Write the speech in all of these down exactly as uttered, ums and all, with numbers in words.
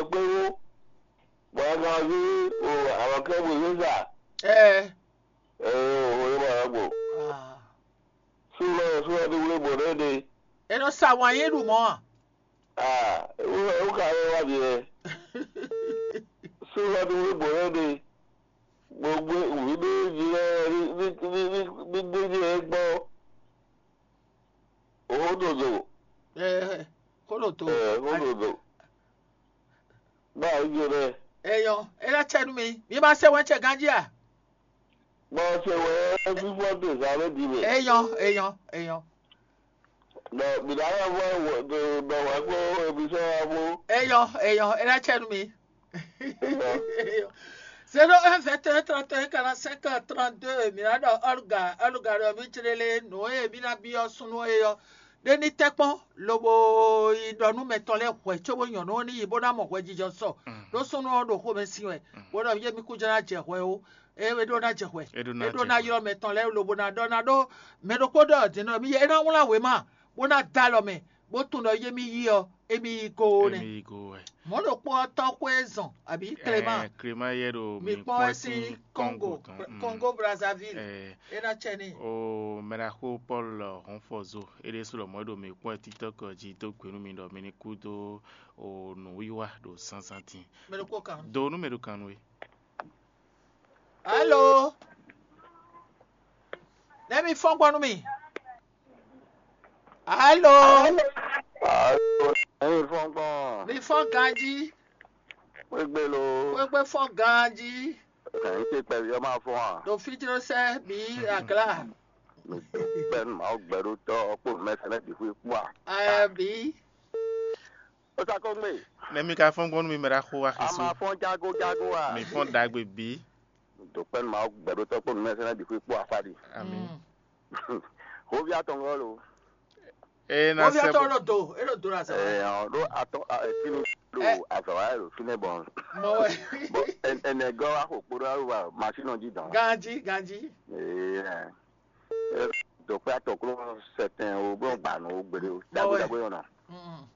kpé wú, bɔ a kan ví o alɔkɛ́ bwe zé sa. Ɛɛ. Ee, o yɛ ma yɛ gbo. Ah. Súnlɔ súnlɔ ní wúlé bɔ ɖé ɖe. E nɔ sa wǎn yé ɖu mɔ̌ a? Ah, wúlé wú ka yɛ wá bi yɛ. Súnlɔ ní wúlé bɔ ɖé ɖe. Gbogbo wǔ ní jí lɛ ní ní ní ní ní ní ní gbɔ. Òhódòdò. Ɛɛ, xó ɖo to. Ɛɛ, xó ɖo do. Báwo jẹ bẹ́ẹ̀? Eyɔn, e ná cɛ nú mi. Mi ma se wɛn cɛ ganjí a? Bɔ ṣe wɛ fífọ́ tó ìsàlẹ̀ di mɛ. Eyɔn, eyɔn, eyɔn. Bɔ bìdáyà fọ́ bọ̀ wá kó ebi sẹ́ wá bó. Eyɔn, eyɔn, e ná cɛ nú mi. Zéro un vingt et un trente et un quarante cinq trente deux, mi ná ɖɔ ɔluga ɔluga ɖɔ mi jlélé nǔ e mi ná byɔ́ súnnu é ɔ́ ɖé ní tɛ́ kpɔ́n, lobo yi ɖɔ nú mɛ tɔn lɛ́ɛ hwɛ̌ cóbó nyɔ̌nu ɔ́ ní yi bó ná mɔ hwɛjijɔ sɔ. Ɖó súnnu ɔ́ ɖo xomɛ sin wɛ, bó ɖɔ yé mi kú jɛ́n ná jɛ hwɛ ó. É é ɖó ná jɛ hwɛ. É ɖó ná É ɖó jɛ ná hwɛ. Ylɔ́ mɛ tɔn lɛ́ɛ lobo ná ɖɔ ná ɖó mɛ ɖokpó ɖɔ dǐn nɔ mi é ná wlán wěma bó ná dó alɔ mɛ, bó tunwun ɖɔ yé mi yí ɔ, émí yí go ó nɛ́. Émí yí go wɛ. Mɔ̌ ɖokpó ɔ́ tɔ́ xwé zɔn, abǐ Clément. Clément yɛ ɖo Mi mi kpɔ́n kpɔ́n ɛ sín sín Congo, Congo tɔn. Mm. Congo Brazzaville. Eh, É ná cɛ n'i. O mɛɖaxó Paul Honfozo, é ɖésú lɔmɔ̌ ɖo mi kpɔ́n ɛ TikTok jí dó gbe nú mi ɖɔ mi ní kú dó o nǔwiwa ɖo zǎnzǎn din. Mɛ ɖokpó kan. Do nú mɛ ɖo kan nú we. Alo. Nɛ́ mi fɔ́n gbɔ nú mi. Alo. Alo, ẹ̀yin fɔ́n gbɔn. Mi fɔ́n ganjí. Wégbé lo. Wégbé fɔ́n ganjí. Ẹ̀yin ṣe pẹ̀lú ọmọ afọ́n à. Ɖo fíjlósɛ bǐ aglá. Pɛ́nú Mawu gbɛɖótɔ́ kpó mɛsɛlɛ bǐ xwé kpó à. Ɛ bǐ. Ó sá kó gbé. Nɛ mi ka fɔ́n gbɔn nú mi mɛ ɖaxó wa A xixú. Ma fɔ́n jágó jágó à. Mi fɔ́n ɖagbe bǐ. Ɖo pɛ́nú Mawu gbɛɖótɔ́ kpó mɛsɛlɛ bǐ xwé kpó àfá ɖi. Amín. Mm. Hóví atɔngɔ́ lo. Ena Hóví sɛ atɔngɔ́ ɖo do, é ɖo do la sɛ. Ɛ ɔn ɖó atɔ ɛ fínú ɖo Ɛ. Azɔ̌ wa ɖo fínɛ́ bɔn. Mɔ wɛ. Bɔn ɛnɛgɔ́ wa xo kpo ɖó wa masínɔ jí dán. Ganjí, ganjí. Ee ɛ. Dɔkpɛ atɔklo sɛtɛn o bó ba nù o gbede o Bɔwɛ. Dagbe dagbe yɔnɔ. Mm.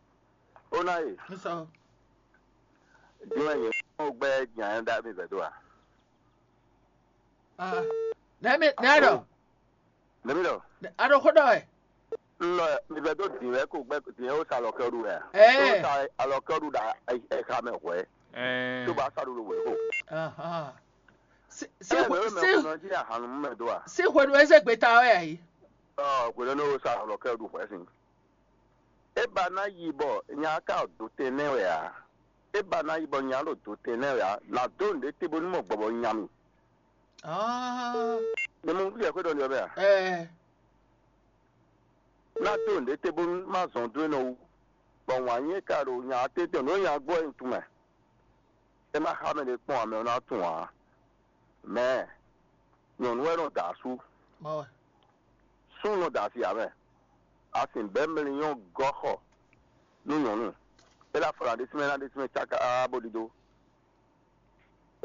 O na ye. N sɔ. Jɔn ye o gbɛ nya da mi vɛ do a. Ah. Nɛ mi nɛ ɖɔ. Nɛ mi ɖɔ. A ɖo xó ɖɔ wɛ. N lɔ mi vɛ do din wɛ ko gbɛ din o sa alɔkɛ ɖu wɛ. Ɛɛ. O sa alɔkɛ ɖu da ɛha mɛ hwɛ. Ɛɛ. Tó ba sa ɖu wɛ ko. Ahan. Si si Ɛɛ, mɛ o mɛ si o nɔ jí ahanu mɛ do a. Si hwenu eze gbeta wɛ ayi. Ɔ hwenu ne o sa alɔkɛ ɖu hwɛ sin. É ba ná yi bɔ nya ka ɖo te nɛ́ wɛ ǎ. É ba ná yi bɔ nya ɖo do te nɛ́ wɛ ǎ. Nǎ dó nǔɖé te bónú mɔ gbɔbɔ nya mi. Ah. Ní mú yɛ xwé ɖɔ ní ɔ́ mɛ a? Ɛɛ. Ná dó nǔɖé te bónú má zɔn dó é nɔ wú. Bɔ wǎn nyí é ka ɖo nya tɛ́ntɛn nǔ nya gbɔ é tunwun mɛ. É má xá mɛ ɖé kpɔ́n ǎ, mɛ ɔ́ ná tunwun ǎ. Mɛ nyɔ̌nu wɛ nɔ da asú. Mɔ wɛ. Súnnu nɔ da asi ǎ mɛ. A sǐ bɛ́ mlínyɔ́ gɔ́ xɔ nú nyɔ̌nu. É ná fɔ ná ɖésú mɛ ná ɖésú mɛ cáká bó ɖidó.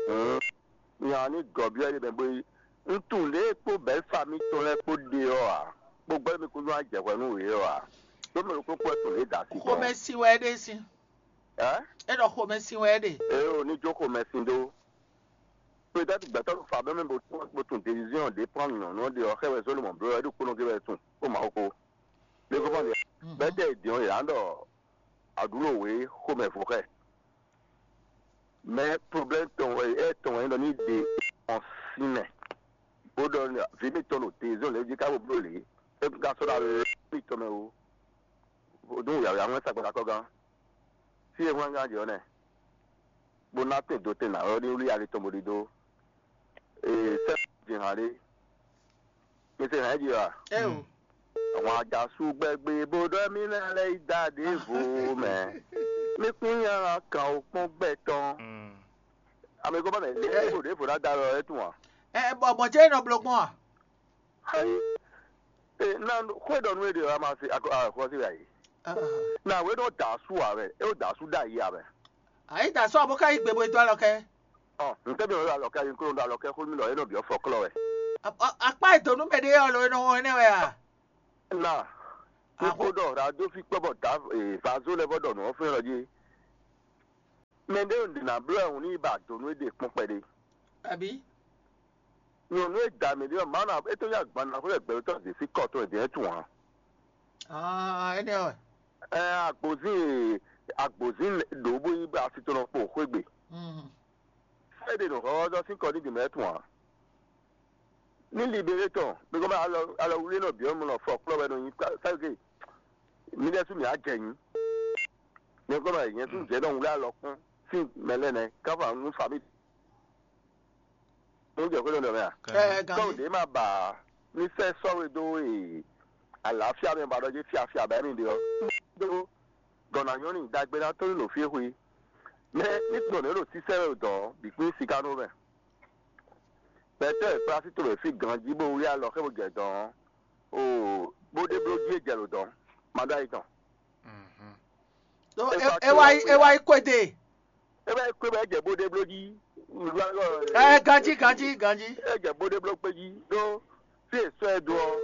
Hǔn nya ɔ́ ní gɔ̌ byɔ́ é ɖe mɛ bó yí. Un tunwun lě e kpó bɛ̌ fa mitɔn lɛ́ɛ kpó ɖe ɔ́ ǎ, kpó gbɛ́ mi kún nú ajɛ̌hwɛ nú wě ɔ́ ǎ. Ɖó mɛ ɖokpó kpó wɛ tunwun lě e da asi tɔn. Xomɛ sin wɛ é ɖe sín. Ɛ? É ɖɔ xomɛ sin wɛ é ɖe. Ée o ní jó xomɛ sin ɖó. Peut-être gbɛtɔ́ ɖo fa bɛ́ mɛ bó bó tunwun décision ɖě prendre nyɔ̌nu ɔ́ ɖe ɔ́, xɛ wɛ zɔ́ lomɔ̌ bló wɛ é ɖo kpónɔ gé wɛ tunwun, bó ma xo. Lé kó fɔ́n ɖe. Mhm. Bɛ́ tɛ è dín ɔ́, yě ná ɖɔ aɖǔ ɖo wě xomɛ vo xɛ. Mɛ problème tɔn wɛ ɛ tɔn wɛ nyí ɖɔ ní ɖe ɔn sín mɛ. Bó ɖɔ vǐ mitɔn ɖo décision lě jí ká bó bló lě. É ka sɔ́ ɖo alɔ mitɔn mɛ o. Vodún yǎyá wɛn sagbada kɔ́gán. Fí e wɛn gán jɛ ɔ́ nɛ. Bó ná tɛn dó tɛn nǎ ɔ́ ní wlí ali tɔn bó ɖidó. Ee sɛ jɛ hàn ɖé. Mi se hàn jí wa. Ɛ o. Àwọn àjàsú gbẹgbẹ bó ɖɔ mí náà lẹ yí dá ɖěvo mɛ. Mí kún yàrá kan ó pọ́n gbẹ tán. Àmì kó bá mẹ lé bó ɖěvo ná da lọ ẹ tún wa. Ɛ bɔ bɔ jẹ́ iná bló gbɔn a? Ayi. Ee na xwé ɖɔ nú é ɖe wa ma se akɔ a xɔ sí wɛ ayi. Na wé ɖo da sú a wɛ, é ɖo da sú ɖa yi a wɛ. Ayi da sú a bó ká yí gbe bó dó alɔ kɛ. Ɔ ntɛ bi ɔlɔ alɔ kɛ yi kó ɖo alɔ kɛ xó mi lɔ é nɔ bi ɔfɔ klɔ wɛ. Akpa e donu mɛ ɖe ɔlɔ e nɔ wɔn ɛnɛ wɛ a? Na. Ní kó ɖɔ radio fi kpɔ bɔ da vazo lɛ bɔ ɖɔ nù ɔfɛ lɔ jí. Mɛ ɖé ɖě ná bló ɛhun ní ba do nú éɖée kpɔ́n kpɛɖé. Abǐ? Nyɔ̌nu e da mǐ ɖé ɔ́, Mawu ná é tó nyí agban ná xwé gbɛɖótɔ́ zě sín kɔ tɔn è dě tún ǎ. Ah, énɛ́ wɛ. Ɛ agbǒzín e agbǒzín ɖǒ bó yí asi tɔn nɔ kpo xwé gbe. Mm. É ɖe nǔ xɔxɔzɔ́ sín kɔ ní dě mɛ tún ǎ. Ní libéré tɔn, bí kò bá alɔ alɔ wlé nɔ bǐ ɔ́ mɔ nɔ fɔ kplɔ́ wɛ nɔ nyi káké. Mi ɖésú mǐ á jɛ nyi. Mi kò bá nyɛ tún jɛ nɔ wlé alɔ kún sín mɛ lɛ́ɛ nɛ́ káfá nú famí. Mo jɛ xwé nɔ mɛ a? Ɛ Tɔn gǎnjí. Ɖě ma ba ní sɛ sɔ́we dó e àlàáfíà mɛ ba ɖɔ jẹ́ fíafíà bá mi ɖe ɔ́. Dó gɔ̌nà nyɔ́ n'i ɖagbe ná tɔ́ nyi ɖo fí xwé. Mɛ ní gbɔn nǔ e ɖo sísɛ́ wɛ dɔ̌ bǐ kpín siká nú mɛ. Pɛtɛ́ e kplá sí to wɛ fí ganjí bó wlí alɔ xé bó jɛ dɔ̌n ɔ́, oo, bó ɖe bló jí e jɛ lǒ dɔ̌n, ma ɖó ayi tɔn. Ɖó É é fa é wá tlóló yi é xwé wá ǎ. Yi kwéde. É wá yi kwé bɔ é jɛ bó ɖe bló jí. Ɛ ganjí ganjí ganjí. É jɛ bó ɖe bló kpé jí ɖó fí e sɔ́ ɛ dó ɔ́,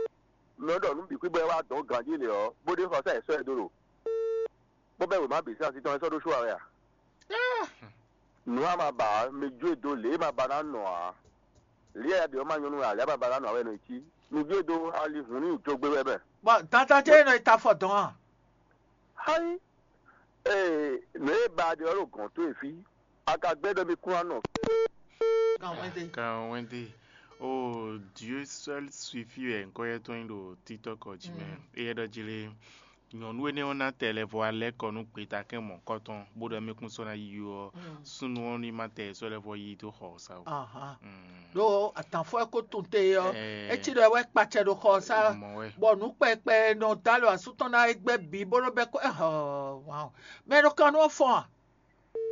mɛ ɖɔ nǔ bǐ xwé bɔ é wá dɔ̌n ganjí lě ɔ́, bó ɖe xɔ sá è sɔ́ ɛ dó ɖo. Bó bɛ́ wěma bǐ sín asi tɔn é sɔ́ ɖó sú ǎ wɛ a? Nǔ a ma ba ǎ, mi jó e dó lě e ma ba ná nɔ ǎ. Lě e a ɖe ɔ́ ma nyɔ́ nú wɛ ǎ, lě e a ma ba ná nɔ ǎ wɛ è nɔ yi cí. Mi jó e dó ali hǔn ní yi jó gbé wɛ mɛ. Bɔ dandan jɛ́n é nɔ yi ta afɔ dɔn a? Hái! Ee, nǔ e ba ɖe ɔ́ ɖo gɔ̌n towe fí. A ka gbɛ́ ɖɔ mi kún ná nɔ. Kan wɛn de. Kan wɛn de. Oh, Dieu seul suffit wɛ ŋkɔ yɛ tɔn nyi ɖo TikTok jí mɛ. Mm. Eye ɖɔ jí lé. Nyɔ̌nu énɛ́ ɔ́ ná tɛ lɛ́ vɔ alɛ́ kɔ nú gbeta kɛn mɔ̌kɔtɔn, bó ɖɔ mɛ kún sɔ́ ná yi ɔ́, súnnu ɔ́ ní ma tɛ sɔ́ lɛ́ vɔ yi dó xɔ sa o. Ahan. Mm. Ɖó atǎnfɔ e ko tun te ɔ́, Ɛɛ. É cí ɖɔ é wɛ kpacɛ ɖo xɔ sa, Mɔ wɛ. Bɔ nǔ kpɛkpɛ nɔ dó alɔ asú tɔn ná é gbɛ́ bǐ bó nɔ bɛ́ kó ɛhɔ. Mɛ ɖo kan nú ɔ́ fɔn a?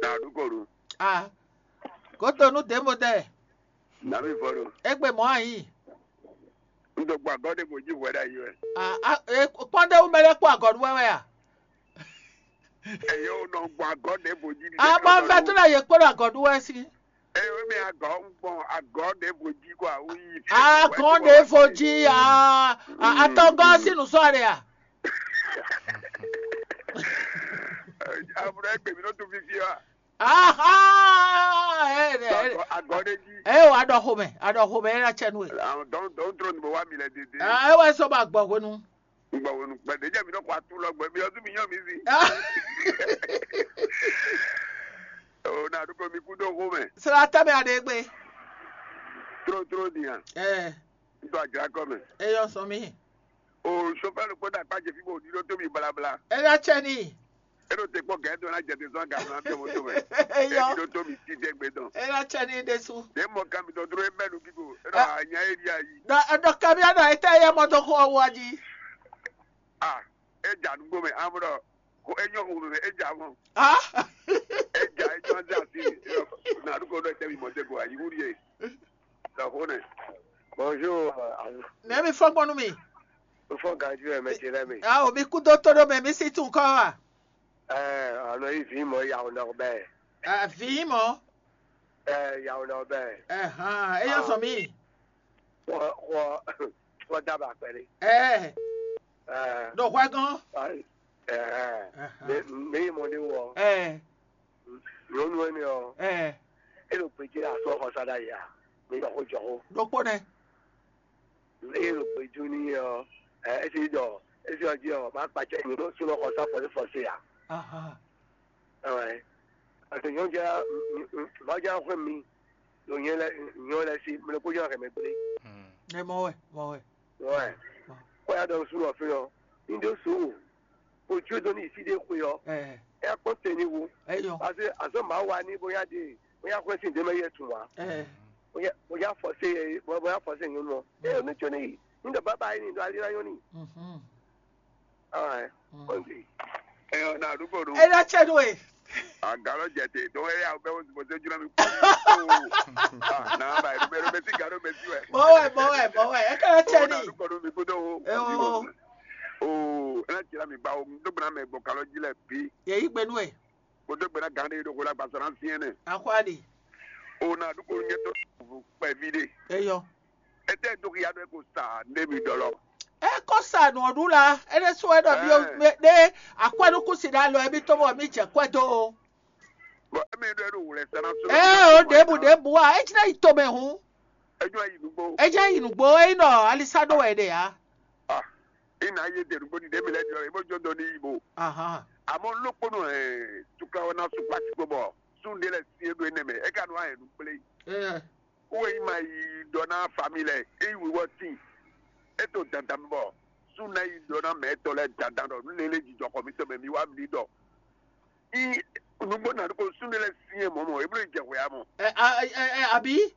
Na ɖu ko ɖu. A, gǒdo nú dě mo dɛ. Na mi vɔ ɖo. Égbé mɔ̌ a nyǐ. Un dó gbɔ agɔ́ ɖé bó jí hwɛ ɖ'ayǐ wɛ. A, a, e, kpɔ́n ɖé wú mɛ lɛ́ kpó agɔ̌ ɖu wɛ wɛ a? Eye o nɔ gbɔ agɔ́ ɖé bó jí. A, bɔ vɛ tó ɖo yě kpó ɖo agɔ̌ ɖu wɛ sí. Eye o mɛ agɔ́ un gbɔn agɔ́ ɖé bó jí kó a wú yí. Agɔ́ ɖé vo jí a, a, atɔgɔ́ sí nǔ sɔ́ ɖe a? Amúnɛ gbèmí ló tún fífí wa. Aha! Ɛ ɛ Agɔ́ ɖé jí. Ɛ wà ɖɔ xomɛ, aɖɔ xomɛ ɛ na tsɛ nú ɛ. Àwọn dɔn dɔn trɔ ní bɔ wá mi lɛ dédé. Ɛ wà sɔ ba gbɔ hwenu. Gbɔ wonu gbɛ ɖé jẹ́ mi nɔ kó atú lɔ gbɛ mi ɔdún mi yàn mí sí. O na dúpọ̀ mi kú dó xomɛ. Sira tẹ́ mi aɖe gbé. Tró tró nìyàn. Ɛ Nítorí àjàrà kọ́ mẹ́. Ẹ yọ sọ mi. O sofẹ́ ló kpọ́dà pàjẹ́ fí bò ní ló tóbi balabala. Ẹ yọ tsẹ ni. E ɖo te kpɔ gɛɛ do na jɛ te sɔn gafla tɛ moto mɛ. Eyɔ. E ɖo to mi ti tɛ gbe dɔn. E na tsɛ ni ɖesu. Ne mɔ kan mi tɔ dro e bɛ nu kiko. E ɖɔ anya e ɖi ayi. Dɔ dɔ kamia dɔ ete ye mɔ dɔ xɔ wa ji. Ah, e ja nugbo mɛ amrɔ ko e nyɔ xo mɛ e ja mɔ. Ah. E ja e nyɔ ze asi. Na du ko ɖɔ tɛ mi mɔ te ko ayi wuli e. Dɔ xo nɛ. Bonjour. Nɛ mi fɔ gbɔnu mi. Fɔ ganju ɛ mɛ ce lɛ mi. Ah, omi kudo todo mɛ mi si tun kɔ wa. Ɛɛ, ɔnɔ yi vǐ mɔ yawunɔ bɛɛ. Ɛ, vǐ mɔ. Ɛɛ, yawunɔ bɛɛ. Ɛhàn, eyɔ sɔ mi. Xɔ xɔ xɔ daba kpɛli. Ɛɛ. Ɛɛ. Ɖo hwɛ gɔn. Ɛɛ. Ɛhàn. Mi mi yi mɔ ni wɔ. Ɛɛ. Nyɔnu ɛnɛ ɔ. Ɛɛ. E ɖo gbedzi asɔ xɔ sa ɖa ya. Mi yɔ xɔ jɔ xɔ. Ɖokpo nɛ. Eye ɖo gbejú n'i ɔ́, ɛ, é sí ɖɔ é sí ɔ́ jí ɔ́, má kpacyɔ nyi ɖó súnɔ xɔ sá fɔsí fɔsí ǎ. Aha. Ɛwɛ. Ase nyɔnu já má já xwé mi ɖo nyɛ lɛ nyɔ lɛ sí mlɛ kó já hɛmɛ gblé. Ɛ mɔ wɛ, mɔ wɛ. Wɛ. Kó ya ɖɔ súnɔ fí ɔ́, ní ɖó sú o. Ojú tó ní ìfídé xwe ɔ́, Ɛ, ɛ kpɔ́n te ní wu. Ɛ yɔ. Parce que azɔn màá wa ní bóyá de bóyá xwé sí ndémɛ yɛ tún wa. Ɛ, Bóyá bóyá fɔsé yɛ bóyá fɔsé nyɔnu ɔ. Ɛ ní tsɔ́ ní yi. Ní ɖɔ bàbá yìí ní ɖɔ alílá nyɔ́ ní. Mhm. Ah, Mm. Kɔnti. Ɛ ɔ na àdúgbò ɖo. Ɛ na tsɛ nú ɛ. Àgálɔ jɛ te dɔwɛrɛ awo bɛ wo zubɔ sɛ jura mi kpɔ. Ah, na ba ɛ bɛ bɛ si galo bɛ si wɛ. Mɔ wɛ, mɔ wɛ, mɔ wɛ. Ɛ kɛ na tsɛ O na ní. Àdúgbò ɖo mi kó dɔ o. Ɛ o. O ɛ na tsira mi ba o. N tó gbɛna mɛ gbɔ kalɔ ji lɛ bi. Yɛ yi gbɛnu ɛ. Mo dó gbe ná gǎn ɖé ɖo xwé lɔ agbasɔ ná syɛ́n nɛ. Axwali. O na ɖu ko nyɛ tó kpɛví ɖé. Eyɔ. Etɛ dó ya ɖo ko sa ne mi dɔ lɔ. E ko sa nɔ ɖu la, e ɖe so e ɖɔ mi o Ɛɛ. Ɖe akwɛnukusi ɖe alɔ ebi to bɔ mi jɛ kwɛ do o. Bɔn emi É ɖo wlɛ̌ sá ná sɔ́. Ɛ o ɖěbǔ ɖěbǔ a, é cí ná yi tomɛ hǔn. É jɔ yi nǔgbó. É jẹ́ yi nǔgbó, é nyí ɖɔ alisa ɖó wɛ ɖe ǎ. Ah, ina ye de nugbo ɖiɖe mi lɛ ɖɔ ebo jɔ dɔ ni bo. Ahan. Àmọ́ lókpónɔ ẹ̀ tukla wɛ ná sukpá sí gbogbo. Sunde lɛ si eɖo enɛ mɛ, é ka nɔ ayɛ nukplé. Ɛ. Wo yi ma yi ɖɔ ná fami lɛ, é yi wíwɔ tín. É to dandan mi bɔ. Sun ná yi ɖɔ ná mɛ tɔ lɛ dandan ɖɔ nu lélé jijɔ xɔ mi tɔ mɛ mi wá mi ɖɔ. I nugbo na ko sunde lɛ si ɛ mɔ mɔ, eblo jɛ hwɛ amɔ. Ɛ a ɛ ɛ abi.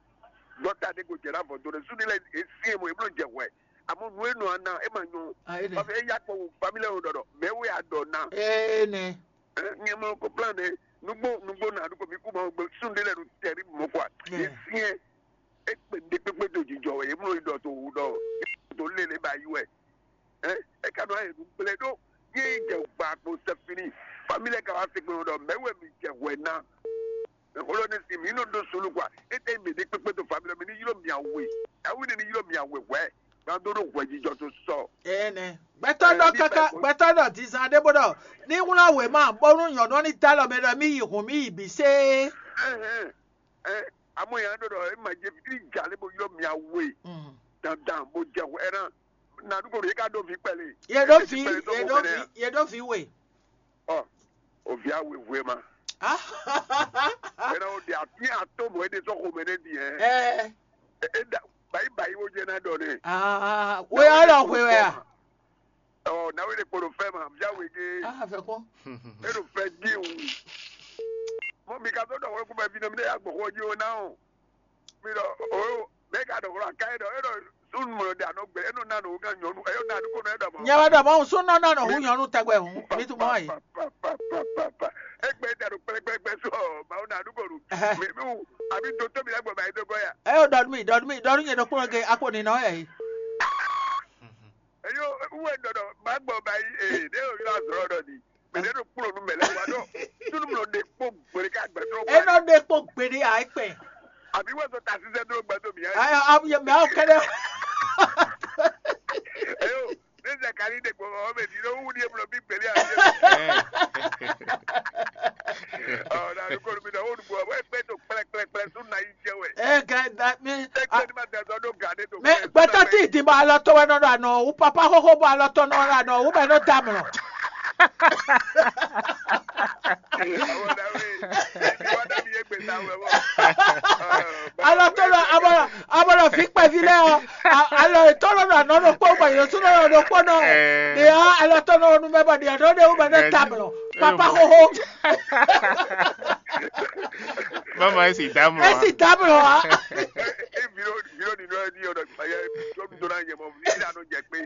Dɔta de ko jɛ na vɔ do ne sunde lɛ si ɛ mɔ, eblo jɛ hwɛ. Àmọ́ nu e nɔ ana e ma nyɔ. A e ne. Parce que eya kpɔ wo famille wo dɔdɔ, mais wo ya dɔ na. E ne. Nyɛ mɔ ko plan de nugbo nugbo na ko mi ku ma gbe sunde lɛ nu tɛri mo quoi. Yeah. E si ɛ e kpe de kpekpe do jijɔ wɛ, e mlo yi dɔ to wu dɔ to lele ba yi wɛ. Ɛ e ka nɔ ayɛ nu gblɛ ɖo. Ye jɛ gba kpo sɛfini. Famille ka wa se kpe dɔ mɛ wɛ mi jɛ hwɛ na. Xlɔ ne si mi nɔ ɖo solu kwa. Ete mi de kpekpe to famille mi ni ylo mi awe. Awi ne ni ylo mi awe hwɛ. Gban do ɖo hwɛ jijɔ to sɔ. Ene. Gbɛtɔ ɖɔ kaka gbɛtɔ ɖɔ dizan ɖe bó ɖɔ ní wlá wěma bónú nyɔ̌nu ɔ́ ní dó alɔ mɛ ɖɔ mí yi hǔn mí yi bǐ sé. Ɛhɛn. Ɛ amɔ yɛn ɖɔ ɖɔ e ma jɛ fi ja lé bo ylo mi awe. Dandan bo jɛ hwɛ na. Na ɖu ko ɖo ye ka ɖo vi kpɛlɛ. Ye ɖo vi ye ɖo vi ye ɖo vi we. Ɔ, o via wěwé ma. Ena o de afi ato mo ede sɔ xomɛ ne di ɛ. Ɛ. E da bayi bayi wo jɛ na dɔ ne. Aa, wo ya lɔ hwe wɛ a? Ɔ, na wo de kpolo fɛ ma, via we ge. Ah, fɛ kɔ. E do fɛ di o. Mo mi ka so dɔ wɛ ku bɛ vi ne mi de ya gbɔ xɔ ji o na o. Mi ɖɔ o mɛ ka ɖɔ xlɔ aka e ɖɔ e ɖɔ sunu mɔ ɖe anɔ gbɛ e nɔ na nɔ wúgan nyɔnu e yɔ na ɖo kɔnɔ e ɖɔ mɔ. Nyɛ wɛ ɖɔ mɔ sunu nɔ na nɔ hu nyɔnu tɛgbɛ hu mi tu mɔ yi. Egbe da ɖo kplɛkplɛkplɛ so mawu na ɖu kɔnu. Mi mi wu abi do to mi lɛ gbɔ ba yi do gɔ ya. E yɔ dɔnu mi dɔnu mi dɔnu nyɛ ɖo kplɔ ge akpo ni nɔ yɛ yi. Eyo wɛ ɖɔ ɖɔ ma gbɔ ba yi ee ne yɔ yɔ azɔrɔ dɔ di. Mɛ ɖe ɖo kplɔnu mɛ lɛ wa ɖɔ. Sunu mlɔ ɖe kpó gbere ká gbɛtɔ. Enɔ ɖe kpó gbere a ekpɛ. Àbí wọ́n sọ tàṣíṣẹ́ dúró gbẹ́dọ̀ mìíràn. Ayọ abuye mɛ awo kɛnɛ. Eyo ne Zakari ɖe gbɔ ɔmɛ di ɖo wu ɖie mlɔ bí gbeli a. Ɔ na ɖo kɔlu mi na wo ɖu bɔ wɛ gbɛ to kplɛkplɛkplɛ sunu na yi jɛ wɛ. Ɛ gɛ da mi. Egbe ni ma dɛ sɔ ɖo ga ɖe to. Mɛ gbɛtɔ ti di bɔ alɔ tɔn wɛ nɔ ɖo anɔ wu papa xoxo bɔ alɔ tɔn nɔ ɖo anɔ wu bɛ nɔ da mlɔ. Alɔ tó lɔ abɔlɔ abɔlɔ fi kpɛvi lɛ ɔ alɔ tó lɔ nɔ anɔ ɖo kpó bɔ yɛn tó lɔ nɔ ɖo kpó nɔ. Ɖe ɔ alɔ tó nɔ nu mɛ bɔ ɖe ɔ ɖe wú bɛ ne ta mlɔ papa xoxo. Mama esi da mlɔ. Esi da mlɔ wa. Viro nínú ẹ ní ọ̀nà ìgbàyẹ jọ́dún tó náà yẹ mọ́ ní ìlànà jẹ pé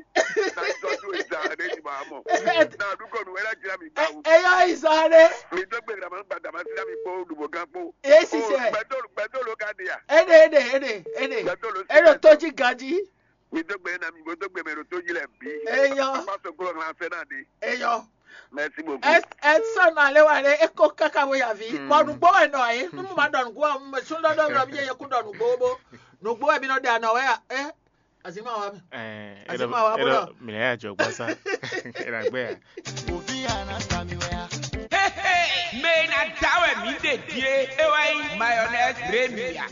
náà jọ́dún ìjà rẹ̀ ní màá mọ̀. Náà dúkọ̀ nù wẹ́rẹ́ jìlá mi gbà wò. Eyɔ izɔre. Mi tó gbé ìrànmọ́ gbàdàmọ́ sí lámì kpó olùbọ̀gán kpó. Esi sɛ. Gbẹdọ̀lù gbẹdọ̀lù ká di yà. Ene ene ene ene. Gbẹdọ̀lù sí. Eno toji ganji. Mi tó gbé náà mi mo tó gbé mi ro tó yí lẹ̀ bí. Eyɔ. Apá sọ̀kúrò ńlá fẹ́ náà di. Eyɔ. Merci beaucoup. Edson alewale eko kaka bo yavi. Bɔnu gbɔ wɛ nɔ ye. Numu ma dɔnu gbɔ mɛ sun dɔdɔ mi ye kun dɔnu gbogbo. Nugbo wɛ mi nɔ de anɔ wɛ ya. Eh. Azima wa mi. Eh, Azima wa bolo. Mina ya jɔ gbasa. Era gbe ya. Ovi ana sami wɛ ya. Hey, hey, mɛ na da wɛ mi de die. E wa yi mayonnaise Remia.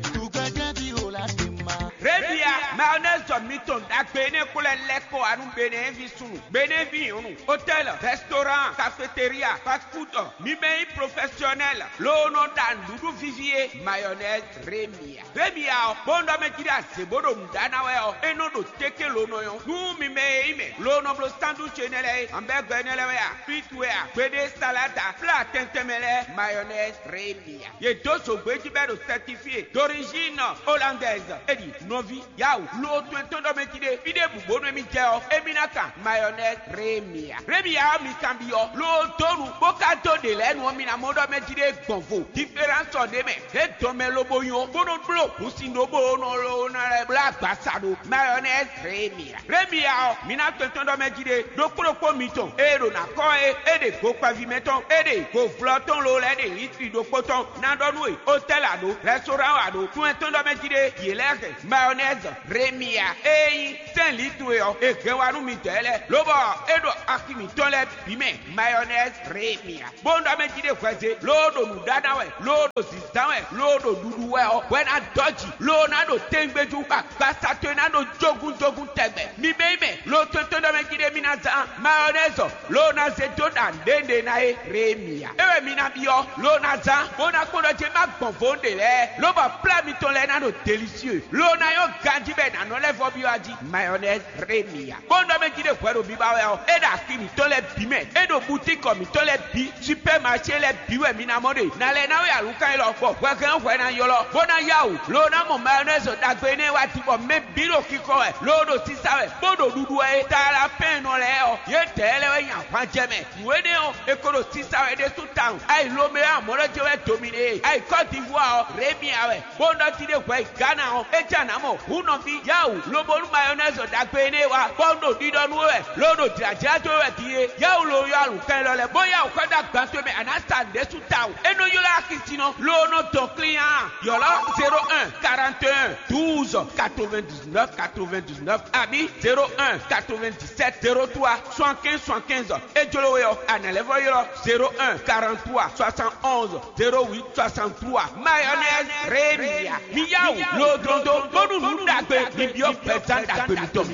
Remia, mayonnaise mi tɔn dagbe ne ko lɛ lɛ ko anu bene vi sunu. Benevi nyɔnu, hôtel, restaurant, cafétéria, fast food, mi mɛ nyí professionnel, loo nɔ ɖa nǔɖuɖu vivi é, mayonnaise Remia. Remia ɔ́, bó nɔ mɛ jí ɖe azě bó ɖo nǔ ɖa ná wɛ ɔ́, é nɔ ɖo téké loo nɔ nyɔ́. Nú mi mɛ e nyí mɛ, loo nɔ bló sandwich énɛ́ lɛ́ɛ é, hamburger énɛ́ lɛ́ɛ wɛ a, frites wɛ a, gbeɖé salade a, plat tɛntɛn mɛ lɛ́ɛ, mayonnaise Remia. Yě dó zǒgbéjí bɔ é ɖo certifié d'origine hollandaise. É ɖi nɔví yawu loo to etɔ́n ɖɔ mɛ jí ɖé. Fí ɖěbǔ bónú émí jɛ ɔ́, émí ná kan mayonnaise Remia. Remia ɔ́ mi kanbyɔ́ loo dó nu bó ka dó ɖě lɛ́ɛ nu ɔ́, mi ná mɔ ɖɔ mɛ jí ɖé gbɔn vo. Différence ɔ́ ɖ'é mɛ. É dɔn mɛ lobo nyɔ bó nɔ bló hǔnsin ɖó bó nɔ loo ná lɛ́ blá agbasa ɖo mayonnaise Remia. Remia ɔ́, mi ná tɔn etɔ́n ɖɔ mɛ jí ɖé ɖokpó ɖokpó mitɔn ée ɖo ná kɔ é, é ɖe go kpɛví mɛ tɔn, é ɖe go vlɔ tɔn loo lɛ́ ɖe litri ɖokpó tɔn. Ná ɖɔ nú we, hôtel a ɖǒ, restaurant a ɖǒ, tún etɔ́n ɖɔ mɛ jí ɖé, yě lɛ́ hɛn mayonnaise Remia e nyí sɛ́nlǐ towe ɔ́, è hɛn wá nú midɛɛ lɛ́ɛ, lobɔ é ɖo axi mǐtɔn lɛ́ɛ bǐ mɛ mayɔnɛzi Remia. Bó ɖɔ mɛ jí ɖé hwɛze, loo ɖo nǔ ɖa ná wɛ, loo ɖo zǐzán wɛ, loo ɖo ɖuɖu wɛ ɔ́, hwɛ ná dɔ́ jǐ, loo ná ɖo tɛngbéjú, agbasa towe ná ɖo jógúnjógún tɛgbɛ. Mi bɛ́ mɛ, loo tótó ɖɔ mɛ jí ɖé mi ná zán mayɔnɛzi ɔ́, loo ná zé dó ɖa nǔɖé ná é Remia. É wɛ mi ná byɔ́, loo ná zán, bó ná kpɔ́n ɖɔ jé má gbɔn vo ɖe lɛ́ɛ, lobɔ plá mitɔn lɛ́ɛ ná ɖo delisieu, loo ná nyɔ́ ganjí bɔ è nǎ nɔ lɛ́ vɔ́ byɔ́ ají. Mayɔnɛzi Remia. Kpɔ́n ɖɔ mɛ jí ɖé hwɛ ɖo biba wɛ ɔ́, é ɖo axi mǐtɔn lɛ́ɛ bǐ mɛ, é ɖo butíkɔ mǐtɔn lɛ́ɛ bǐ, supɛ́maṣé lɛ́ɛ bǐ wɛ mi ná mɔ ɖe. Nǎ lɛ́ ná wɛ alǔkan élɔ́, bɔ hwɛhɛn hwɛ ná ylɔ́, bó ná yá wǔ, loo ná mɔ mayɔnɛzi ɖagbe énɛ́ wá din, bɔ mɛ bǐ ɖo xixɔ wɛ, loo ɖo sisa wɛ, bó ɖo ɖuɖu wɛ é. Talapɛ́nnɔ lɛ́ɛ ɔ́, yědɛɛ lɛ́ɛ wɛ nyí ahwanjɛmɛ. Nǔ énɛ́ ɔ́, è ko ɖo sisa wɛ ɖésú tawun. Ayi Lomeo amɔ̌ lɔ jɛ wɛ dominé, ayi Kɔ́divuwa ɔ́, Remia wɛ. Bó nɔ ti ɖé hwɛ yi Gana ɔ́, é jɛ anǎ mɔ hǔn nɔví yáwǔ, lobo nú mayɔnɛzi ɖagbe énɛ́ wá, bɔ un ɖo ɖiɖɔ nú we wɛ, lo ɖo jlǎjlá dó we wɛ din é. Yáwǔ lo yɔ alǔkan élɔ́ lɛ́ɛ, bó yáwǔ xɔ dó agban towe mɛ, a nǎ sa nǔɖé sú tawun. É nɔ ylɔ́ axi sin nɔ, lo nɔ dɔn klín a? Yɔ̌lɔ́ zéro un quarante et un douze quatre-vingt-dix-neuf quatre-vingt-dix-neuf abǐ zéro un quatre-vingt-dix-sept zéro trois soixante-quinze soixante-quinze. É jló we ɔ́, a nǎ lɛ́ vɔ́ ylɔ́ zéro un quarante-trois soixante-onze zéro huit soixante-trois. Mayonnaise Rémia. Mi yá wǔ lodlondo bónú nǔ ɖagbe mi byɔ́ gbɛzán ɖagbe mitɔn.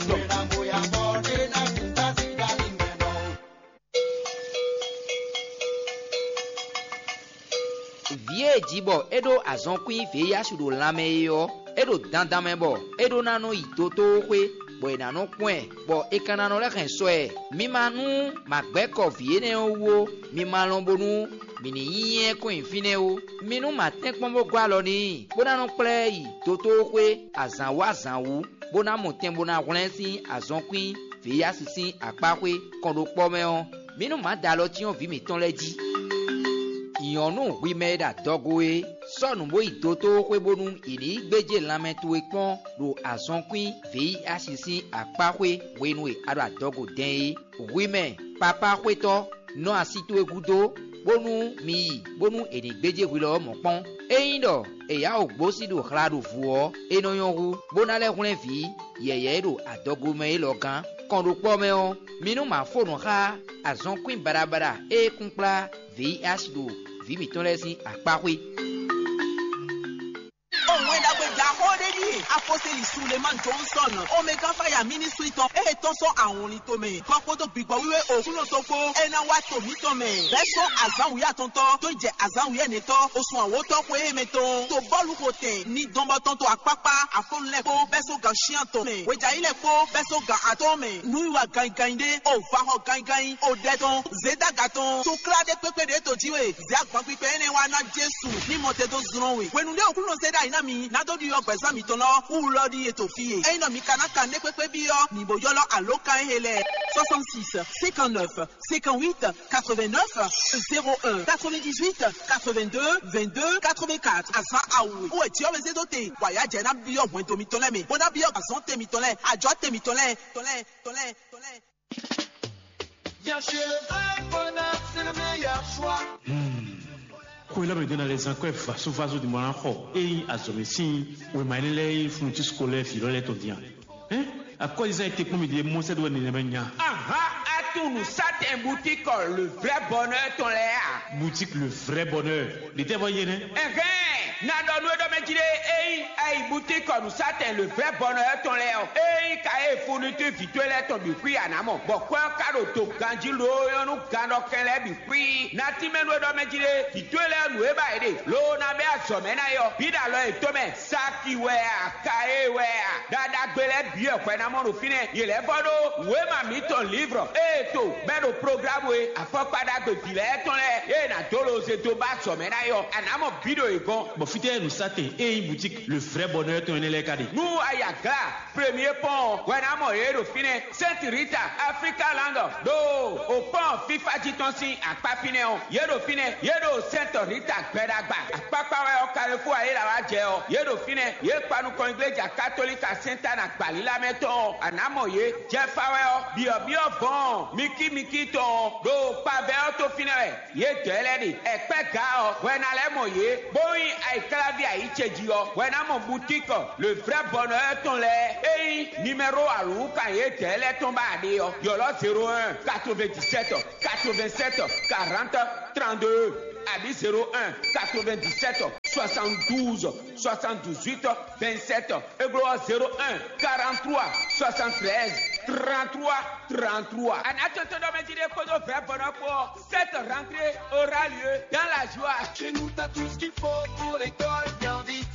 Vǐ e è ji bɔ é ɖó azɔnkwín vǐyásu ɖo lanmɛ é ɔ́, é ɖo dandan mɛ bɔ é ɖó ná nɔ yi dotóxwé, bɔ è nǎ nɔ kpɔ́n ɛ, bɔ è ka ná nɔ lɛ́ hɛn sɔ ɛ. Mi ma nú ma gbɛ́ kɔ vǐ énɛ́ ɔ́ wú ó, mi ma lɔn bónú mǐ ní nyí ɛ kɔn nyi fínɛ́ ó. Mi nú ma tɛ́nkpɔ́n bó gɔ́ alɔ n'i, bó ná nɔ kplá ɛ yi dotóxwé azǎn wú azǎn wú, bó ná mɔ tɛn bó ná hwlɛ́n sín azɔnkwín vǐyásu sín akpáxwé kɔn ɖo kpɔ́ mɛ ɔ́, mǐ nú mǎ da alɔ cyɔ́n vǐ mǐtɔn lɛ́ɛ jí. Nyɔ̌nu hwi mɛ e ɖo adɔgo é, sɔ́ nǔ bó yi dotóxwé bónú è ní yi gbéjé lanmɛ towe kpɔ́n ɖo azɔnkwín vǐyásu sín akpáxwé hwenu e a ɖo adɔgo dɛn é. Hwi mɛ papá xwétɔ́, nɔ asi towe gúdo, bónú mi yi, bónú è nǐ gbéjé hwi lɔ ɔ́ mɔ̌ kpɔ́n. Ényí ɖɔ è yá wǒ gbósí ɖo hla ɖo vǔ ɔ́, é nɔ nyɔ́ hú, bó ná lɛ́ hwlɛ́n vǐ yɛ̌yɛ́ e ɖo adɔgo mɛ élɔ́ gán. Kɔn ɖo kpɔ́ mɛ ɔ́, mi nú ma fó nǔ xá azɔnkwín baɖabaɖa e kún kplá vǐ asi ɖo vǐ mǐtɔn lɛ́ɛ sín akpáxwé. Òun wɛ ɖagbe jǎxó ɖé ɖíe apɔ́sítélì Sulemán Johnson, Omega Fire Ministry tɔn e tɔ́n sɔ́ awɔnlin tomɛ, kɔ kpódó gbǐgbɔ́ wíwé Òkúnɔ tɔn kpó, é ná wá to mǐtɔn mɛ, bɛ́ sɔ́ azǎn wǔyá tɔntɔ́ dó jɛ azǎn wǔyá nɛtɔ́, osun awǒtɔ́ xwe émɛ tɔn, to bɔ́lu xo tɛn, ní dɔn bɔ tɔn to akpákpá, afɔ́nlɛ́ kpó, bɛ́ sɔ́ gan cyán tɔn mɛ, hwejayílɛ kpó, bɛ́ sɔ́ gan atɔ́ɔ́n mɛ, nǔwiwa ganyiganyi ɖé, o va xɔ ganyiganyi, o ɖɛ tɔn, zědaga tɔn, to klá ɖé kpékpé ɖě to jí we, zě agban kpikpɛ énɛ́ wá ná Jesu ní mɔ te dó zlɔ́n we. Hwenu ɖé Aklúnɔ zé ɖ'ayǐ ná mi, ná dó ɖiɖɔ gbɛ̌zán mitɔn lɔ, wú lɔ ɖíe to fí e. Ényí nɔ mi ka ná kan nɖé kpékpé byɔ́, mi bo ylɔ́ alǒkan e lɛ́ɛ: soixante-six, cinquante-neuf, cinquante-huit, quatre-vingt-neuf, zéro un, quatre-vingt-dix-huit, quatre-vingt-deux, vingt-deux, quatre-vingt-quatre. Azǎn awu e wɛ Jǐɔ́mɛ zé dó te, wǎ yá jɛ ná byɔ́ hwɛndo mitɔn lɛ́ɛ mɛ, bó ná byɔ́ azɔ̌ te mitɔn lɛ́ɛ, ajɔ̌ te mitɔn lɛ́ɛ, tɔn lɛ́ɛ, tɔn lɛ́ɛ, tɔn lɛ́ɛ. Bien sûr, un bonheur, c'est le meilleur choix. Xwe lɔ mɛ ɖó ná lɛ́ zán kɔ́ ɛ vasovaso din bɔ ná xɔ ényí azɔ̌mɛ sín wěma énɛ́ lɛ́ɛ e fúnnu cí sukɔ lɛ́ɛ vǐ lɔ lɛ́ɛ tɔn din a? Hɛn, akɔ́yizán e te kpɔ́n mi ɖe Mɔsɛ́ ɖó wɛ nɛnɛmɛ nya. Ahán, a tunwun nǔsátɛn butíkɔ le vrai bonheur tɔn lɛ́ɛ a? Boutique le vrai bonheur. Ɖětɛ́ vɔ yé nɛ́? Ɛhɛn, na ɖɔ nú é ɖɔ mɛ jí ɖé, ényí a yi butíkɔ nǔsátɛn le vrai bonheur tɔn lɛ́ɛ ɔ́, ényí ka e fúnnu cí vǐ towe lɛ́ɛ tɔn bǐ xwí a nǎ mɔ, bɔ kwɛ́ ɔ́ ka ɖo do ganjí loo nyɔ́ nú gannɔkɛn lɛ́ɛ bǐ xwí. Na tínmɛ nú é ɖɔ mɛ jí ɖé, vǐ towe lɛ́ɛ nǔ e ba yě ɖe, loo ná bɛ́ azɔ̌ mɛ ná é ɔ́, bǐ ɖo alɔ yětɔn mɛ. Saki wɛ a, Kaye wɛ a, ɖaɖagbe lɛ́ɛ bǐ wɛ hwɛ ná mɔ ɖo fínɛ́. Yě lɛ́ vɔ ɖó wěma mǐtɔn lǐvrɔ ée to bɛ́ ɖo programu e afɔkpa ɖagbe vǐ lɛ́ɛ tɔn lɛ́ɛ ée nǎ dó lo ze dó ba azɔ̌ mɛ ná é ɔ́, a nǎ mɔ bǐ ɖo yě gɔ́n. Bɔ fítɛ́ nǔsátɛn e nyí boutique le vrai bonheur tɔn énɛ́ lɛ́ɛ ka ɖe? Nú a yi Aglá, Premier Pont ɔ́, hwɛ ná mɔ yě ɖo fínɛ́. Sainte Rita, Africa Land, ɖo o pɔ́n fífá jí tɔn sín akpá fínɛ́ ɔ́, yě ɖo fínɛ́, yě ɖo Sainte Rita gbɛɖagba. Akpákpá wɛ ɔ́ ka Xó ayé la wá jɛ ɔ́, yě ɖo fínɛ́, yě kpa nukɔn igleja katolíka Sɛntana gbalílá mɛ tɔn ɔ́, a nǎ mɔ yě. Jɛfa wɛ ɔ́, byɔ̌byɔ́ vɔ̌n mikímikí tɔn ɔ́, ɖo kpavɛ ɔ́ tó fínɛ́ wɛ. Yě dɔ̌ lɛ́ɛ ɖe, ɛkpɛ́ ga ɔ́, hwɛ ná lɛ́ mɔ yě, bó nyí ayǐkláví ayǐ ce jí ɔ́, hwɛ ná mɔ butíkɔ le vrɛ́ bɔnɔ ɔ́ tɔn lɛ́ɛ. É nyí nimɛ́ro alǔwúkan yě dɔ̌ lɛ́ɛ tɔn ba ɖe ɔ́, ylɔ́ zéro un, quatre-vingt-dix-sept, quatre-vingt-sept, quarante, trente-deux, abǐ zéro un, quatre-vingt-dix-sept, soixante-douze, soixante-dix-huit, vingt-sept, é glɔ́ zéro un, quarante-trois, soixante-treize, trente-trois, trente-trois. A nǎ tɔ́n tɔ́n ɖɔ mɛ jí ɖé kpódó vɛ̌ vɔ̌ nɔ kpó ɔ́, cette rentrée aura lieu dans la joie. Chez nous, t'as tout ce qu'il faut pour l'école bien vite.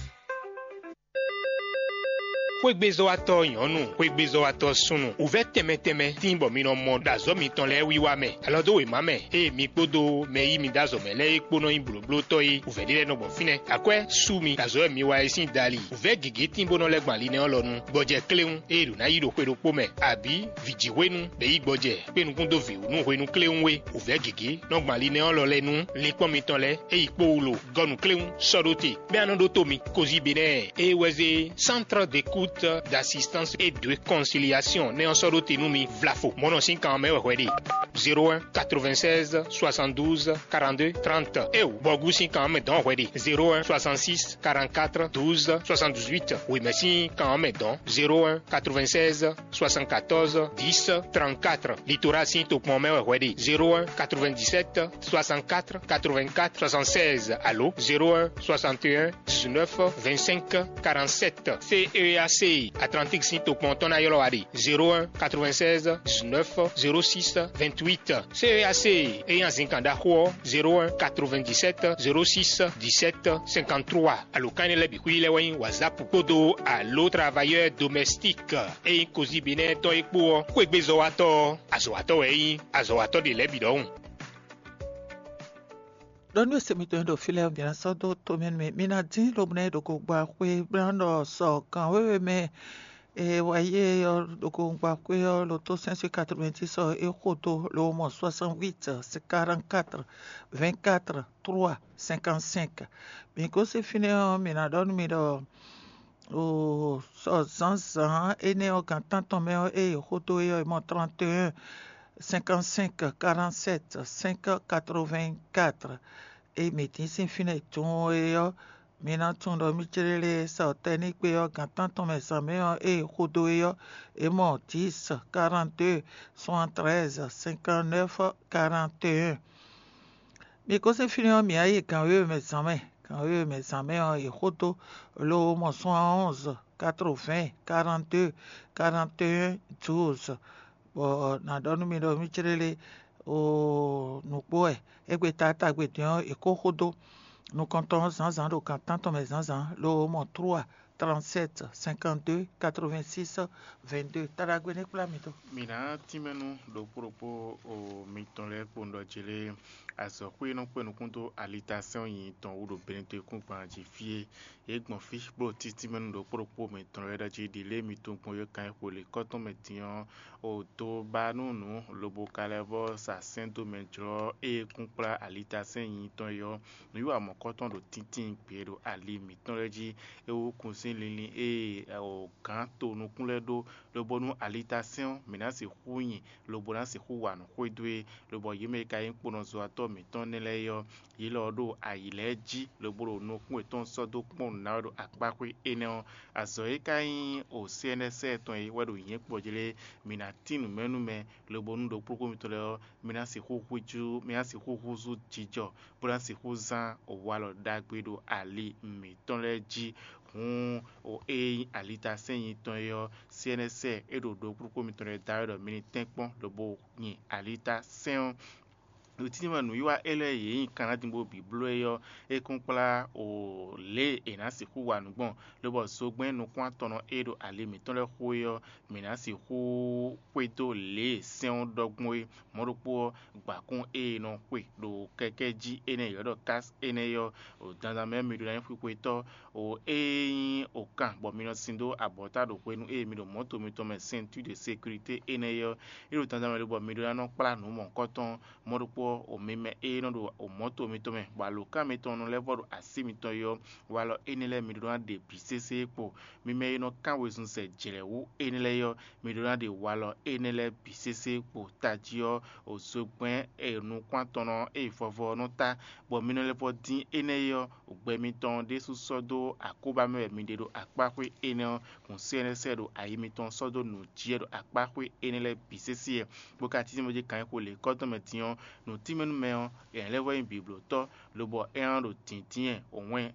Xwégbezɔ́watɔ́ nyɔ̌nu, xwégbezɔ́watɔ́ súnnu, wǔvɛ́ tɛnmɛ tɛnmɛ tíin bɔ mi nɔ mɔ ɖo azɔ̌ mitɔn lɛ́ɛ wiwa mɛ. Alɔ dó wěma mɛ, ée mi kpódó mɛ e yí mi dó azɔ̌ mɛ lɛ́ɛ é kpó nɔ nyí blǒblótɔ́ é, wǔvɛ́ ɖé lɛ́ɛ nɔ gbɔn fínɛ́. Akwɛ́ sú mi ɖo azɔ̌ e mi wa é sín dali. Wǔvɛ́ gěgé tíin bó nɔ lɛ́ gbɔn ali nɛ́ ɔ́ lɔ nu. Gbɔjɛ kléwún, ée ɖǒ ná yí ɖo xwe ɖokpó mɛ, abǐ vǐjǐhwenu, bɔ é yí gbɔjɛ kpé nukún dó vǐwú nú hwenu kléwún é. Wǔvɛ́ gěgé nɔ gbɔn ali nɛ́ ɔ́ lɔ lɛ́ɛ nú linkpɔ́n mitɔn lɛ́ɛ, é yi kpó wú lo gɔ́ nǔkléwún sɔ́ ɖó te. Bɛ́ a nɔ ɖótó mi, Kozíbenɛ́ɛ, é wɛ zé Centre d'écoute, d'assistance et de réconciliation nɛ́ ɔ́ sɔ́ ɖó te nú mi vlafo. Mɔ̌ nɔ sín kan ɔ́ mɛ wɛ hwɛ ɖe: zéro un, quatre-vingt-seize, soixante-douze, quarante-deux, trente. Éeǒ, bɔgú sín kan ɔ́ mɛ dɔ̌n hwɛ ɖe: zéro un, soixante-six, quarante-quatre, douze, soixante-dix-huit. Wěmɛ sín kan ɔ́ mɛ dɔ̌n: zéro un, quatre-vingt-seize, soixante-quatorze, dix, trente-quatre. Litoral sín tokpɔn mɛ wɛ hwɛ ɖe: zéro un, quatre-vingt-dix-sept, soixante-quatre, quatre-vingt-quatre, soixante-seize alo zéro un, soixante et un, dix-neuf, vingt-cinq, quarante-sept. C E A C Atlantique sín tokpɔn tɔn ná ylɔ́ wa ɖe: zéro un, quatre-vingt-seize, dix-neuf, zéro six, vingt-huit. C E A C é nyí azinkan ɖaxó ɔ́: zéro un, quatre-vingt-dix-sept, zéro six, dix-sept, cinquante-trois. Alǒkan énɛ́ lɛ́ɛ bǐ xwí lɛ́ɛ wɛ nyí WhatsApp kpódó alo travailleur domestique e nyí Kozíbenɛ́ tɔn é kpó ɔ́, xwégbezɔ́watɔ́ ɔ́, azɔ̌watɔ́ wɛ é nyí, azɔ̌watɔ́ ɖe lɛ̌ bǐ ɖɔhun. Ɖɔ nú e se mitɔn e ɖo fí lɛ́ɛ, mǐ ná sɔ́ dó tomɛ nú mi. Mi ná dín lobo ná yi ɖo gogba xwé bó ná ɖɔ sɔ gǎn wěwe mɛ e wá yi é ɔ́ ɖo gogba xwé ɔ́, lo tó sɛ́n sín quatre-vingt-dix ɔ́, é xo dó lo mɔ soixante-huit, quarante-quatre, vingt-quatre, trois, cinquante-cinq. Mǐ gosín fínɛ́ ɔ́, mǐ ná ɖɔ nú mi ɖɔ o sɔ zǎnzǎn énɛ́ ɔ́, gan tántɔn mɛ ɔ́, ée è xo dó é ɔ́, è mɔ trente et un, cinquante-cinq, quarante-sept, cinq, quatre-vingt-quatre. Ée mǐ tín sín fínɛ́ tunwun é ɔ́, mi ná tunwun ɖɔ mí céɖéɖé sɔ tɛ́ ní kpé ɔ́, gan tántɔn mɛ zǎn mɛ ɔ́, ée è xo dó é ɔ́, è mɔ dix, quarante-deux, soixante-treize, cinquante-neuf, quarante et un. Mi gosín fínɛ́ ɔ́, mǐ wá yi gan wěwe mɛ zǎn mɛ. Gan wěwe mɛ zǎn mɛ ɔ́, è xo dó lo mɔ soixante-onze, quatre-vingts, quarante-deux, quarante et un, douze. Bɔ nǎ ɖɔ nú mi ɖɔ mí céɖéɖé o nǔkpó wɛ. Égbé taátagbe din ɔ́, è kó xo dó nukɔntɔn ɔ́ zǎnzǎn ɖo gan tántɔn mɛ zǎnzǎn lo mɔ trois, trente-sept, cinquante-deux, quatre-vingt-six, vingt-deux. Taɖagbe ní kplá mi dó. Mǐ ná tínmɛ nú ɖokpó ɖokpó o mitɔn lɛ́ɛ kpowun ɖɔ jlé azɔ̌xwé e nɔ kpé nukún dó alitasɛ́n ɔ́ nyi tɔn wú ɖo Benetɛnkúngban jí fí é. Yě gbɔn fí bó ɖo títínmɛ nú ɖokpó ɖokpó mitɔn lɛ́ɛ ɖɔ jí ɖi lě e mi tunwun gbɔn yě kan e xo lě kɔ́tɔn mɛ din ɔ́, o do ba nú nǔ lobo ka lɛ́ vɔ́ sa sɛ́n dó mɛ jlɔ́ ée kún kplá alitasɛ́n nyi tɔn é ɔ́. Nǔwiwa mɔ̌kɔtɔn ɖo tíntín gbe ɖo ali mǐtɔn lɛ́ɛ jí. É wú kun sín linlin e gǎn to nukún lɛ́ɛ ɖó, lobo nú alitasɛ́n ɔ́, mǐ ná sixú nyi, lobo ná sixú wa nǔ xwedó e, lobɔ yě mɛ e ka nyí kponɔzɔ́watɔ́ mǐtɔn nɛ́ lɛ́ɛ é ɔ́, yě lɔ ɔ́ ɖo ayǐ lɛ́ɛ jí, lobo ɖo nukún yětɔn sɔ́ dó kpɔ́n nǔ ná wɛ ɖo akpáxwé énɛ́ ɔ́. Azɔ̌ e ka nyí o C N S tɔn é wɛ ɖo nyǐ kpɔjlé, mǐ ná tín nǔ mɛ nú mɛ, lobo nú ɖokpóɖokpó mitɔn lɛ́ɛ ɔ́, mǐ ná sixú húzú, mǐ ná sixú húzú jijɔ, bó ná sixú zán walɔ ɖagbe ɖo ali mǐtɔn lɛ́ɛ jí. Hǔn o e nyí alitasɛ́n nyitɔn é ɔ́, C N S é ɖo ɖokpóɖokpó mitɔn lɛ́ɛ da wɛ ɖɔ mi ní tɛ́nkpɔ́n lobo nyi alitasɛ́n ɔ́. Ɖo tíntín mɛ nǔwiwa élɔ́ e yě nyi kan ná din bó bǐ bló é ɔ́, é kún kplá o lě e è nǎ sixú wa nǔ gbɔn, lobɔ zogbɛ́n nukún-atɔnnɔ e ɖo ali mǐtɔn lɛ́ɛ xo é ɔ́, mǐ ná sixú xwedó lě e sɛ́n ɔ́ ɖɔ gbɔn é. Mɔ̌ ɖokpó ɔ́, gbǎkún e è nɔ xwe ɖo kɛkɛ́ jí énɛ́ e è ylɔ́ ɖɔ kási énɛ́ é ɔ́, ɖo dandan mɛ mi ɖó ná nyí xwixwetɔ́. O e nyí o kan bɔ mi nɔ sin dó abɔ̌ta ɖo hwenu e mi ɖo mɔ̌to mitɔn mɛ ceinture de sécurité énɛ́ é ɔ́, é ɖo dandan mɛ lobɔ mi ɖó ná nɔ kplá nǔ mɔ̌hunkɔtɔn. Mɔ̌ ɖokpó ɔ́, o mi mɛ e nɔ ɖo o mɔ̌to mitɔn mɛ, bɔ alǒkan mitɔn nɔ lɛ́ vɔ ɖo así mitɔn é ɔ́, Walɔ énɛ́ lɛ́ɛ mi ɖó ná ɖe bǐ sésé kpo. Mi mɛ e nɔ kán wezun zɛ jlɛ̌ wú énɛ́ lɛ́ɛ ɔ́, mi ɖó ná ɖe walɔ énɛ́ lɛ́ɛ bǐ sésé kpo. Tají ɔ́, òzogbɛ́n e nukún atɔn nɔ e vɔvɔ ɔ́ nɔ ta, bɔ mi nɔ lɛ́ vɔ dín énɛ́ é ɔ́, gbɛ mitɔn ɖésú sɔ́ dó akóbá mɛ wɛ mi ɖe ɖo akpáxwé énɛ́ ɔ́, hǔn sɛ́nɛ́sɛ́ ɖo ayi mitɔn sɔ́ dó nǔ jí wɛ ɖo akpáxwé énɛ́ lɛ́ɛ bǐ sésé wɛ, bó ka tín bó jí kan e xo lě kɔ́ tɔn mɛ din ɔ́, nǔtínmɛnúmɛ ɔ́, é lɛ́ vɔ nyí biblǒtɔ́, lobɔ é ná ɖo dǐndín wɛ wɛn